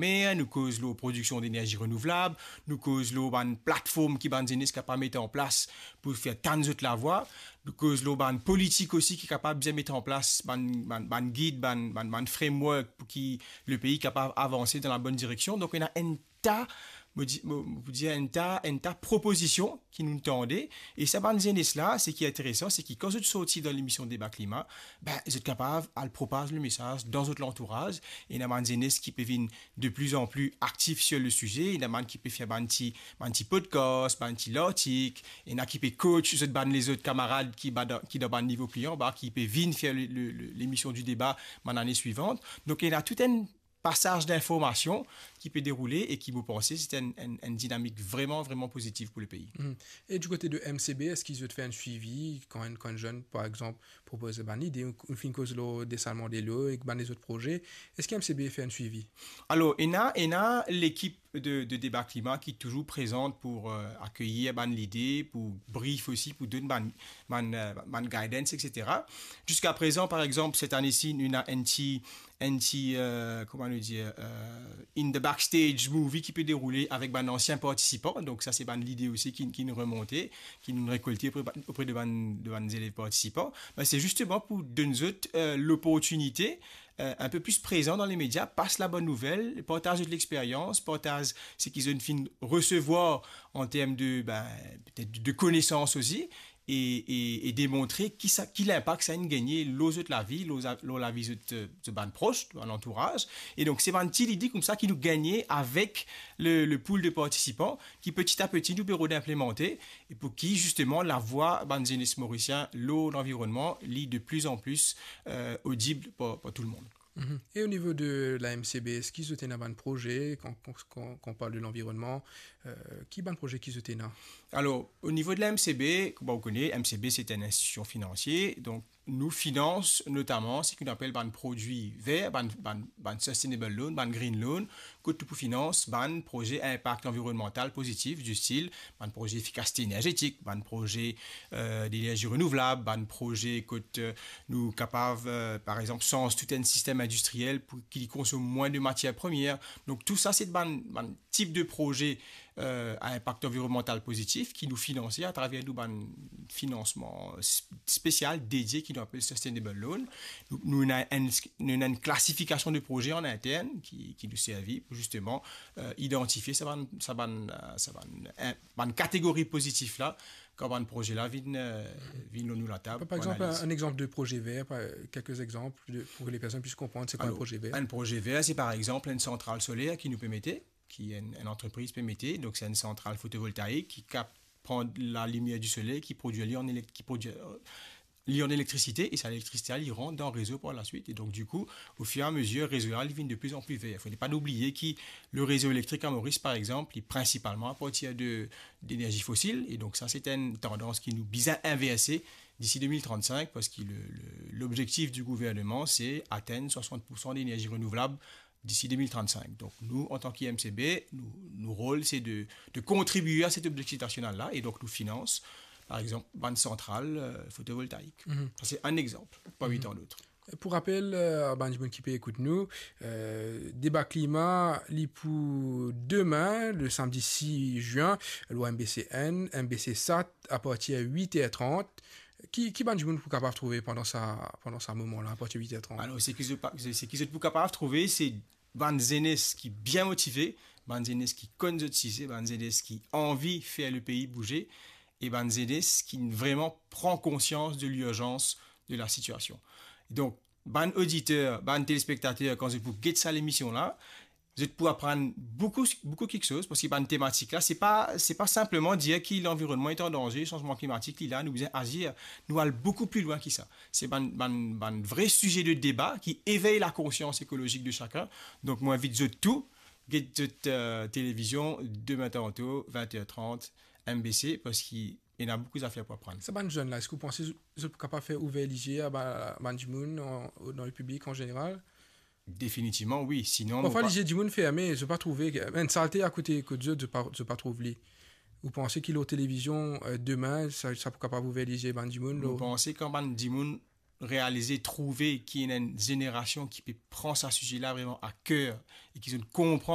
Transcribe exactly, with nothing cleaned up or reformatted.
mer, nou koz lor prodiksion denerzi renouvlab, nou koz lor bann platform ki bann zenes kapav met an plas pou fer tann zot lavwa, nou koz lor bann politik osi ki kapav bizin met an plas bann, bann, bann gid, bann, bann, bann framework pou ki lepei kapav avanse dan labonn direksion. Donk, ena enn ta, mo di-, mo, mo pou dir enn ta, enn ta propozision ki nou tande. E sa bann zenes la, seki interesan, seki kan zot sorti dan lemision Deba Klima, be, zot kapav al propaz lemesaz dan zot lantouraz. Ena bann zenes ki pe vin de plus en plus aktif sur le sujet. Ena bann ki pe fer bann ti, bann ti podcast, bann ti lartik. Ena ki pe coach zot bann lezot kamarad ki ba dan, ki dan bann nivo pli anba, ki pe vinn fer le, le, le, lemision di deba bann lane swivant. Donk, ena tou enn pasaz dinformasion ki pe deroule e ki, mo panse, se enn, enn, enn dinamik vreman, vreman pozitif pou lepei. Mhm. E di kote de M C B, eski zot fer enn swivi kan enn, kan enn zenn, par exanp, propoze bann lide, ou, ou finn koz lor desalman delo ek bann lezot proze, eski M C B fer enn swivi? Alor, ena, ena lekip de, de Deba Klima ki touzour prezan pou, euh, akeyir bann lide, pou brief osi, pou donn bann, bann, euh, bann guidance, et cetera. Ziska prezan, par exanp, set ane si, nou ena enn ti, enn ti, euh, kouma nou dir, euh, in the backstage movie ki pe deroule avek bann ansien partisipan. Donk, sa se bann lide osi ki, ki nou remonte, ki nou rekolte opre, opre de bann, de bann zelev partisipan. Be, se zisteman pou donn zot, euh, loportinite, euh, enn pe plis prezan dan lemedia, pas labonn nouvel, partaz zot lexperyans, partaz seki zot finn resevwar an term de, be, petet de konesans osi, e, e, e demontre ki sa, ki linpak sa inn gagne lor zot lavi, lor za-, lor lavi zot, euh, zot bann pros, bann lantouraz. E donk, se bann ti lide koumsa ki nou gagne avek le, le pool de partisipan, ki peti a peti nou pe rod inplemante, e pou ki, zisteman, lavwa bann zenes morisien lor lanvironnman, li de plus en plus, euh, odib par, par tou lemonn. Mhm. E o nivo de la M C B, eski zot ena bann proze, kan, kan, kan, kan on parl de lanvironnman, euh, ki bann proze ki zot ena? Alor, o nivo de la M C B, kouma ou kone, M C B se enn institision finansie, donk nou finans notaman seki nou apel bann prodwi ver, bann, bann, bann sustainable loan, bann green loan, kot nou pou finans bann proze inpak anvironnmantal pozitif, di stil bann proze efikasite enerzetik, bann proze, euh, denerzi renouvlab, bann proze kot, euh, nou kapav, euh, par exanp, sanz tou enn sistem indistriel pou ki li konsom mwin de matier premier. Donk, tou sa, se bann, bann tip de proze, euh, a inpak anvironnmantal pozitif ki nou finanse atraver nou bann finansman sp-, spesial, dedie, ki nou apel Sustainable Loan. Nou, nou ena enn, nou ena enn klasifikasion de proze an intern ki, ki nou servi pou zisteman, euh, idantifie sa bann, sa bann, euh, sa bann, euh, bann kategori pozitif la, kan bann proze la vinn, euh, vinn lor nou latab. Par, par pou exanp, analiz. Enn exanp de proze ver, par, kelke exanp de, pou ki le personn plis konpran se kwa enn proze ver. Alor, enn proze ver, se par exanp enn santral soler ki nou pe mete, ki enn, enn antrepriz pe mete, donk se enn santral fotovoltaik ki kap-, pran lalimier di soley, ki prodwi li an elek-, ki prodwi, euh, li an elektrisite, e sa elektrisite la, li rant dan rezo par laswit. E donk, dikou, o fir e a mezir, rezo la, li vinn de plus en plus ver. Fode pa nou bliye ki le rezo elektrik a Moris, par exanp, li prinsipalman a partir de, denerzi fosil, e donk sa, se enn tandans ki nou bizin inverse disi de mil trannsink, parski le, le, lobzektif di gouvernman, se atenn swasant poursan denerzi renouvlab disi de mil trannsink. Donk, nou, antan ki M C B, nou, nou rol, se de, de kontribie a set obzektif nasional la, e donk nou finans, par exanp, bann santral, euh, fotovoltaik. Mhm. Sa, se enn exanp, parmi tant d'autres. Pou rapel, euh, a bann dimoun ki pe ekout nou, euh, Deba Klima, li pou demin, le samdi sis zin, lor M B C N, M B C Sat, a partir wit er trant. Ki, ki bann dimoun pou kapav trouve pandan sa, pandan sa moman la, a partir wit er trant? Alor, seki zot pa, se, seki zot pou kapav trouve, se bann zenes ki bien motive, bann zenes ki konn zot size, bann zenes ki anvi fer lepei bouze, e bann zenes ki vreman pran konsians de lirzans de lasitiasion. Donk, bann oditer, bann telespektater, kan zot pou get sa lemision la, zot pou aprann boukou, boukou kiksoz, parski bann tematik la, se pa, se pa sinpleman dir ki lanvironnman li an danze, sanzman klimatik li la, nou bizin azir. Nou al boukou pli lwin ki sa. Se bann, bann, bann vre size de deba ki evey lakonsians ekolozik de sakenn. Donk, mo invit zot tou, get zot, euh, televizion, demin tanto, vin er trant, M B C, parski ena boukou zafer pou aprann. Sa bann zenn la, eski ou panse zot, zot pou kapav fer ouver lizie a ba-, bann dimoun an, dan lepiblik an zeneral? Definitivman, wi. Sinon, parfwa, nou pa- lizie dimoun ferme, zot pa trouve, enn salte akote kot zot, zot pa, zot pa trouv li. Ou panse ki lor televizion, euh, demin, sa, sa pou kapav ouver lizie bann dimoun, lor- Mo panse kan bann dimoun realize, trouve ki ena enn zenerasion ki pe pran sa size la vreman a ker e ki zot konpran